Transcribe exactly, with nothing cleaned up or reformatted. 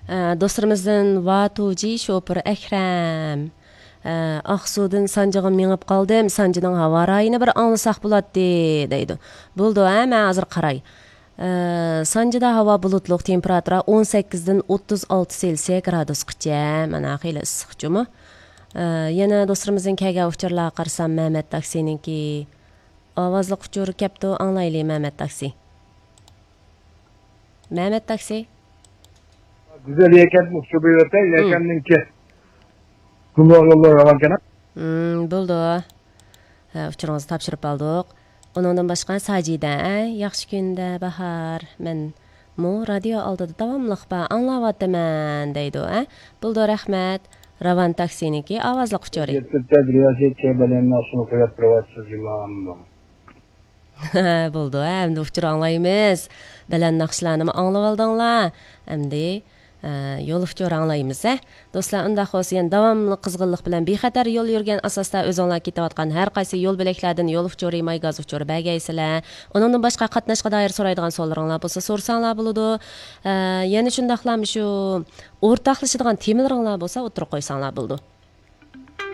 ئە، دوستلىرىمىزدىن ۋاتۇجى شوپۇر ئەكرەم. ئە، ئاقسۇدىن سانجىغا مېڭىپ قالدىم، سانجىنىڭ ھاۋا رايىنى بىر ئاڭلىساق بولاتتى، دەيدۇ. بولىدۇ، ھە، مەن ھازىر قاراي. ئە، سانجىدا ھاۋا بۇلۇتلۇق، تېمپېراتۇرا ئون سەككىزدىن ئوتتۇز ئالتە سېلسىيە گرادۇسقىچە، مانا خېلى ئىسسىق جۇمۇ. ئە، يەنە دوستلىرىمىزدىن كەلگەن ئۇچۇرلارغا قارىسام، مەمەت تاكسىنىڭكى ئاۋازلىق ئۇچۇر كەپتۇ، ئاڭلايلى، مەمەت تاكسى. مەمەت تاكسى. گۈزەل يەكەن ئۇچۇر بېرىۋەتەي، يەكەننىڭكى گۇمراھ يوللار راۋانكەن. مم، بولدى. ھە، ئۇچۇرىڭىزنى تاپشۇرۇپ ئالدۇق. ئۇنىڭدىن باشقا ساجىدە، ئە، ياخشى كۈندە باھار. مەنمۇ رادىيو ئالدىدا داۋاملىق بار، ئاڭلاۋاتىمەن، دەيدۇ، ئە. بولدى، رەھمەت. راۋان تاكسىنىڭكى ئاۋازلىق ئۇچۇرى. يەتتە رىياسەتچى بەلەن ناخشىنى قويۇپ تۇرۇۋاتىسىز، جۇمۇ. بولدى، ئەمدى ئۇچۇر ئاڭلايمىز. بەلەن ناخشىلارنىمۇ ئاڭلىۋالدىڭلار. ئەمدى، ئە، يول ئۇچۇرى ئاڭلايمىز، ھە. دوستلار، ئۇنداق بولسا يەنە داۋاملىق قىزغىنلىق بىلەن بىخەتەر يول يۈرگەن ئاساستا ئۆزۈڭلار كېتىۋاتقان ھەر قايسى يول بۆلەكلەردىن يول ئۇچۇرى، ماي گاز ئۇچۇرى بەرگەيسىلەر. ئۇنىڭدىن باشقا قاتناشقا دائىر سورايدىغان سوئاللىرىڭلار بولسا سورىساڭلار بولىدۇ. ئە، يەنە شۇنداقلا شۇ ئورتاقلىشىدىغان تېمىلىرىڭلار بولسا ئوتتۇرىغا قويساڭلار بولىدۇ.